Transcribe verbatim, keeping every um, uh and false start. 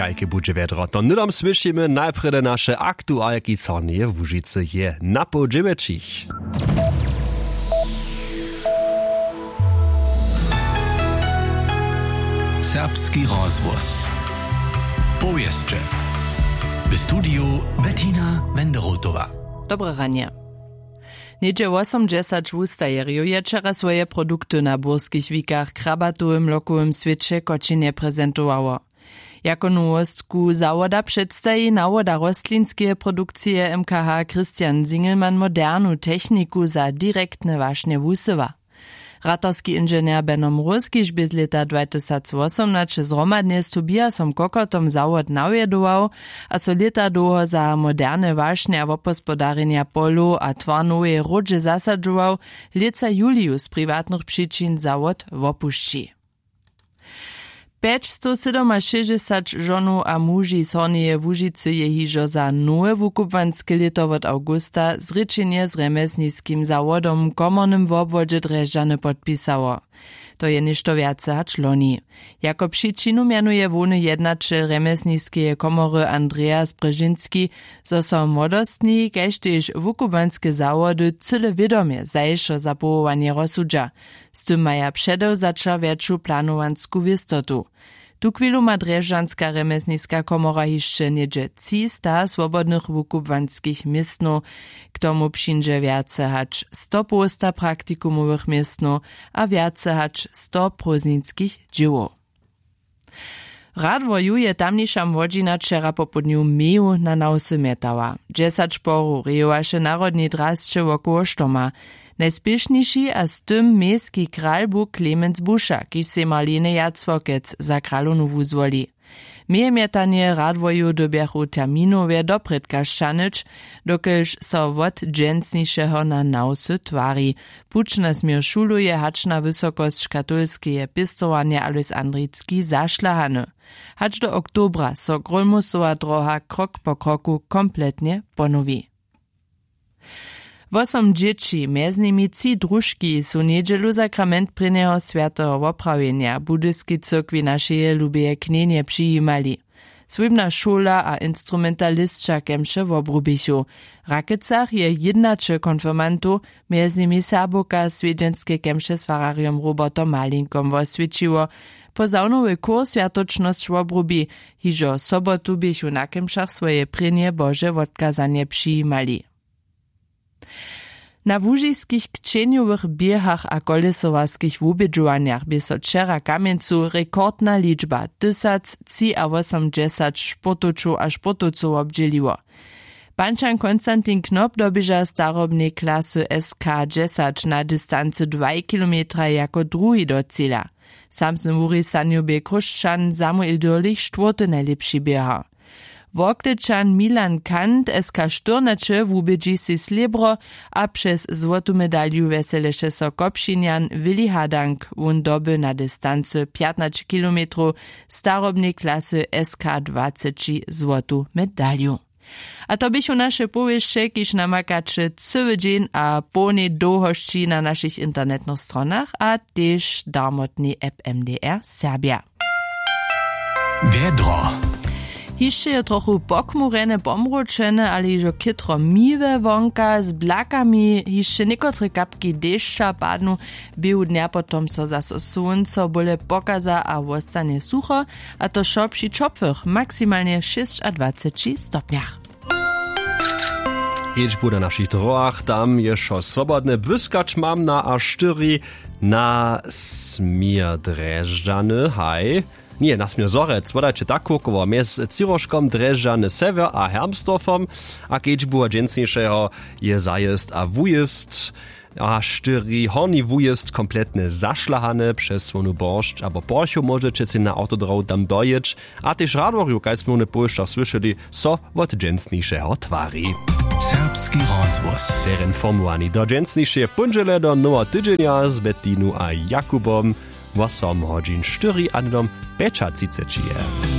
Kajke budźe wjedro, to hnydom słyšimy. Najprjedy naše aktualki. Corneje łužicy je na poł dźewjećich. Serbski rozhłos. Powěsće. W studiju Bettina Wenderotowa. Dobre ranje. Něhdźe wosomdźesać wustajerjow je wčera swoje produkty na burskich wikach w krabatowym lokowym swěće w Kočinje prezentowało. Jako nowostku zawoda předstaji nawoda rostlinskeje produkcije M K H Christian Singelmann modernu techniku za direktne wašnje wusyła. Ratarski inženjer Beno Mróz, kiž bě z lěta dwatysacwosomnaće zhromadnje z Tobiasom Kokotom zawod nawjedował a so lěta dołho za moderne wašnje a wopospodarjenja polow a twarnoweje hródźe zasadźował, lětsa juliju z priwatnych přičin zawod wopušći. Pjećstosydomašěsćdźesaćžonow a muži z Hornjeje Łužicy je hižo za nowe wukubłanske lěto wot awgusta zrěčenje z rjemjesniskim zawodom w komornym wobwodźe Drježdźany podpisało. To je něšto wjace hač loni. Jako přičinu mjenuje hłowny jednaćel rjemjesniskeje komory Andreas Brzežinski, zo so młodostni kaž tež wukubłanske zawody cyle wědomje zašo za powołanje rozsudźa. Z tym maja předewzaća wjetšu planowansku wěstotu. Tuchwilu ma drježdźanska rjemjesniska komora hišće něhdźe třista swobodnych wukubłanskich městnow. K tomu přińdźe wjace hač stopołsta praktikumowych městnow a wjace hač sto prózdninskich dźěłow. Radworju je tamniša młodźina wčera popołdnju meju na nawsy mjetała. Dźesać porow rejowaše w narodnej drasće wokoło štoma. Najspěšniši a z tym mejski kral bu Clemens Buša, kiž sej Marlene Jacławkec za kralownu wuzwoli. Mejemjetanje radworju dyrbjachu terminowje doprědka sćahnyć, dokelž so wot dźensnišeho na nawsy twari. Puć na směr šulow je hač na wysokosć katolskeje pěstowarnje Alojs Andricki zašlahany. Hač do oktobra so Grólmusowa dróha krok po kroku kompletnje ponowi. Wosom dźěći, mjez nimi tři družki, su njedźelu sakrament prěnjeho swjateho woprawjenja w budyskej cyrkwi našeje lubeje knjenje přijimali. Swójbna šola a instrumentalisća kemše wobrubichu. W Rakecach je jědnaće konfirmantow, mjez nimi Serbowka swjedźenske kemše z fararjom Robertom Malinkom woswjećiło. Po zawnowy chór swjatočnosć wobrubi. Hižo sobotu běchu na kemšach swoje prěnje bože wotkazanje přijimali. Na łužiskich kćenjowych běhach a kolesowarskich wubědźowanjach bě so wčera w Kamjencu rekordna ličba, tysactřiawosomdźesać sportowčow a sportowcow wobdźěliło. Pančan Konstantin Knop doběža w starobnej klasy S K dźesać na distancy dwaj kilometra jako druhi do cila. W samsnym wurisanju bě Chróšćan Samuel Dürlich štwórty najlěpši běhar. Worklečan Milan Kant S K štyrnaće wubědźi sej slěbro a přez złotu medalju wjeseleše so Kopšinjan Willi Hadank. Wón doby na distancy pjatnaće kilometrow starobnej klasy S K dwaceći złotu medalju. A to běchu naše powěsće, kiž namakaće cyły dźeń a połnej dołhosći na našich internetnych stronach a tež darmotnej app M D R Serbja. Wjedro. Hišće je trochu pochmurjene, pomročene, ale hižo chětro miłe wonka z blakami. Hišće někotre kapki dešća padnu, běhu dnja potom so zaso słónco bóle pokaza a wostanje sucho, a to wšo při ćopłych, maksimalnje šěsćadwaceći stopnjach. Kedźbu na našich dróhach, tam je wšo swobodne, błyskać mam na A štyri na směr Drježdźany, haj. Ně, na směr Zhorjelc, wodajće tak kółkowo mjez Třiróžkom, Drježdźany sewjer a Hermsdorfom. A kedźbu dźensnišeho je zajězd a wujězd A štyri horni wujězd kompletnje zašlahany. Přez słonu boršć abo porchow móžeće sej na awtodróhu tam dojěć. A tež w Radworju, kaž smy w powěsćach słyšeli, so wot dźensnišeho twari. Serbski rozhłos. Sej informowani do dźensnišeje póndźele do noweho tydźenja z Bettinu a Jakubom. Wosom hodźin štyri a hnydom pjećatřiceći je.